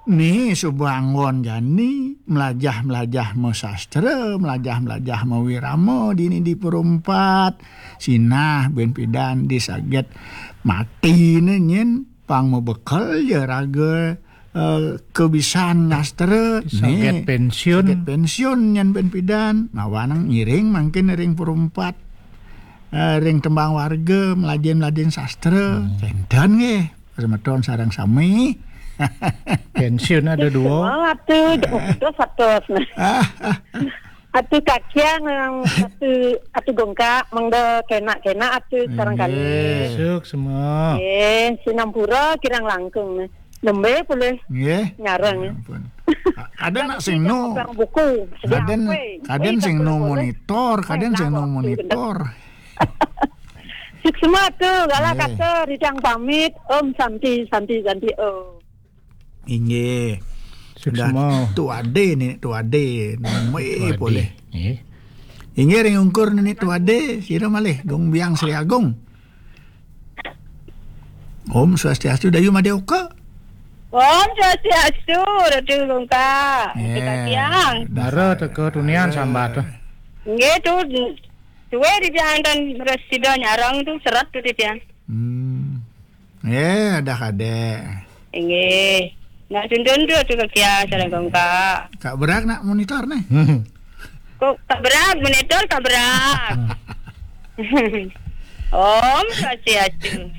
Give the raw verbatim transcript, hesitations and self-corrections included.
Ni suba anggon jani, melajah-melajah masastra, melajah-melajah mawirama dini di Pura Empat. Sinah buin pidan di saget mati né nyen, pang mabekel ja raga, eh, kabisan nyastra. Saget pensiun. Saget pensiun nyen buin pidan. Mawa nang ngiring mangkin ring Pura Empat. Eh, ring tembang warga, melajahin-melajahin sastra. Kénten nggih, semeton sareng sami. Pensiun ada dua. Semua atu, dos atus. Atu kakiang, atu, atu gongkak, mangda kenak-kenak atu sareng kali. Nggih. Suk semua. Eh, sinampura kirang langkung. Nembe boleh. Nggih. Nyareng. Ya ampun. A-, ada nak sing nu. Tukang buku. Sedih Kaden, apa? Kaden Weh, sing tak nu boleh. Monitor, Kaden sing nu monitor. Suksma tu, gala kata ridang pamit. Om Santi, Santi, Santi, Om. Inggih. Suksma. Dah tu ade ni, tu ade. Mai boleh. Inggih ring ungkur ni tu ade, sira malih Dong Biang Sri Agung. Om Swastiastu, Dayu Madé Oka. Om Swastiastu, Ratu Gongka. Ratu Katiang. Mara teka tunian sambat tu. Nggih tu, tuwe di tiang tan resida nyarang tu serat tu di tiang. Hmm. Eh, ada kadé. Inggih. Nak tuntun tu Ratu Katiang, sareng Gongka. Kak Berak nak monitor nih. Kok Kak Berak, monitor Kak Berak. Om Swastiastu.